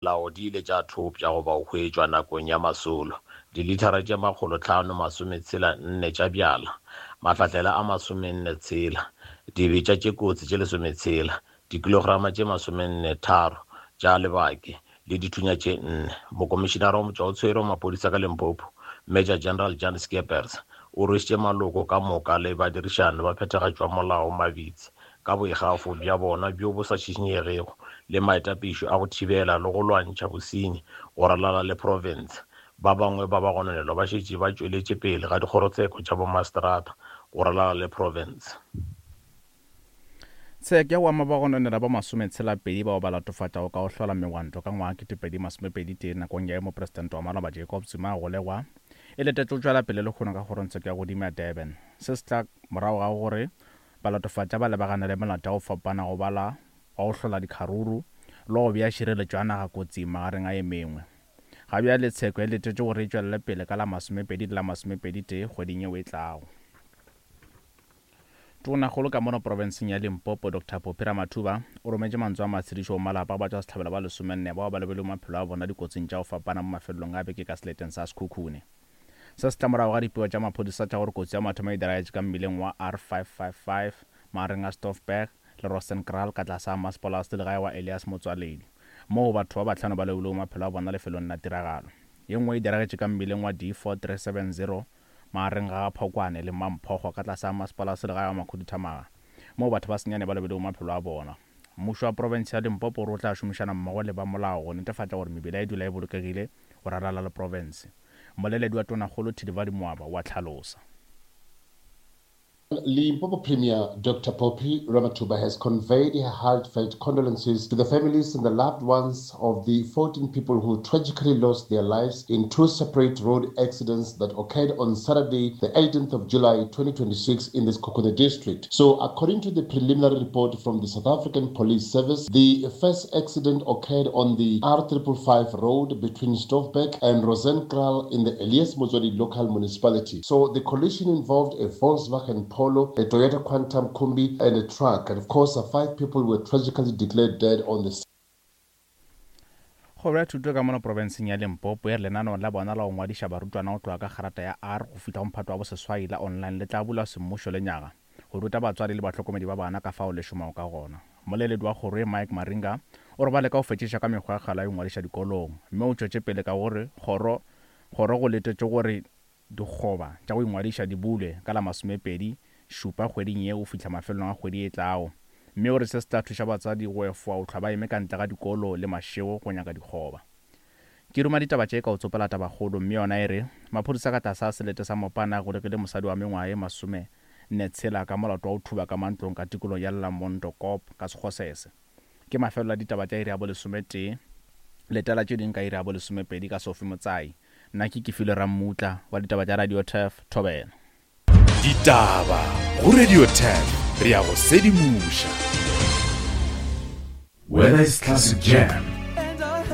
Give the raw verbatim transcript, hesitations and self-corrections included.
Molao di ile tša thopša goba go hwetšwa nakong ya masolo, dilithara tše makgolo hlano masometshela nne tša bjala, mahlahlela a masomenne tshela, dibetša tše kotsi tše lesometshela, dikilograma tše masomenne tharo tša lebake le dithunya tše nne. Mokomišinara wa motšwaotshwere wa maphodisa ka Limpopo, Major General Jan Scheepers, o rwešitše maloko ka moka le badirišani ba phethagatšo ya molao mabitsi ka boikgafo bja bona bjo bo sa šišinyegego le maitapišo a go thibela le go lwantšha bosenyi go ralala le profense. Ba bangwe ba bagononelwa ba šetše ba tšweletše pele ga dikgorotsheko tša bomaseterata go ralala le profense. Tsheko ya go ama bagononelwa ba masometshela-pedi bao ba latofatšago ka go hlola megwanto ka ngwaga ketepedi masomepedi tee nakong ya ge mopresidente wa maloba Jacob Zuma a golegwa e letetše go tšwela pele lehono ka kgorongtsheko ya godimo ya Durban. Se se tla morago ga gore balatofatša ba lebagane le melato ya go fapana go bala wa go hlola dikgaruru le go bea tšhireletšo ya naga kotsing magareng a ye mengwe. Ga bjale tsheko e letetše gore e tšwelele pele ka la masomepedi le la masomepedi tee kgweding yeo e tlago. Tonakgolo ka mono profenseng ya Limpopo Doctor Phophi Ramathuba o rometše mantswe a matshedišo go malapa a batšwasehlabelo ba lesomenne bao ba lobilego maphelo a bona dikotsing tša go fapana mo mafelelong a beke ka seleteng sa Sekhukhune. Se se tla morago ga dipego tša maphodisa tša gore kotsi ya mathomo e diragetše ka mmileng wa R five five five magareng a Stoffberg le Rosenkraal ka tlase ga masepala wa selegae wa Elias Motsoaledi, moo batho ba bahlano ba lobilego maphelo a bona lefelong la tiragalo. Ye nngwe e diragetše ka mmileng wa D four three seven zero magareng ga Phokwane le Mamphogo ka tlase ga masepala wa selegae wa Makhuduthamaga, moo batho ba senyane ba lobilego maphelo a bona. Mmušo wa profense ya Limpopo o re o tla šomišana mmogo le ba molao go netefatša gore mebila e dula e bolokegile go ralala le profense. Mmoleledi wa Tonakgolo Thilivhali Mwaba wa hlalosa. Limpopo Premier Doctor Phophi Ramathuba has conveyed her heartfelt condolences to the families and the loved ones of the fourteen people who tragically lost their lives in two separate road accidents that occurred on Saturday, the eighteenth of July twenty twenty-six in the Sekhukhune district. So, according to the preliminary report from the South African Police Service, the first accident occurred on the R triple five road between Stoffberg and Rosenkraal in the Elias Motsoaledi local municipality. So, the collision involved a Volkswagen Polo, a Toyota Quantum Kombi, and a truck. And of course, uh, five people were tragically declared dead on the scene. Kgoro ya thuto ka mono profenseng ya Limpopo e re lenaneo la bona la go ngwadiša barutwana go tloga ka kgarata ya R go fihla go mphato wa boseswai la online le tla bulwa semmušo le nyaga go ruta batswadi le bahlokomedi ba bana ka fao le šomago ka gona. Mmoleledi wa kgoro ye Mike Maringa o re ba leka go fetšiša ka mekgwa ya kgale ya go ingwadiša dikolong, mme o tšwetše pele ka gore kgoro kgoro go letetše gore dikgoba tša go ingwadiša di bulwe ka la masomepedi šupa kgweding ye go fihla mafelelong a kgwedi e tlago, mme o re se se tla thuša batswadi go efoga go hlwa ba eme ka ntle ga dikolo le mašego go nyaka dikgoba. Ke ruma ditaba tše ka go tsopela tabakgolo, mme yona e re maphodisa ka tlase a selete sa Mopane a golegile mosadi wa mengwaga ye masome nne tshela ka molato wa go thuba ka mantlong ka tikolong ya Lamondo Kop ka Sekgosese. Ke mafelelo a ditaba tša iri ya bolesometee, letela tše ding ka iri ya bolesomepedi ka Sophie Motsai. Nna ke Kefilwe Rammutla wa ditaba tša Radio Turf Thobela. Ditaba go Radio Turf, re ya go sedimoša. Whether it's classic jam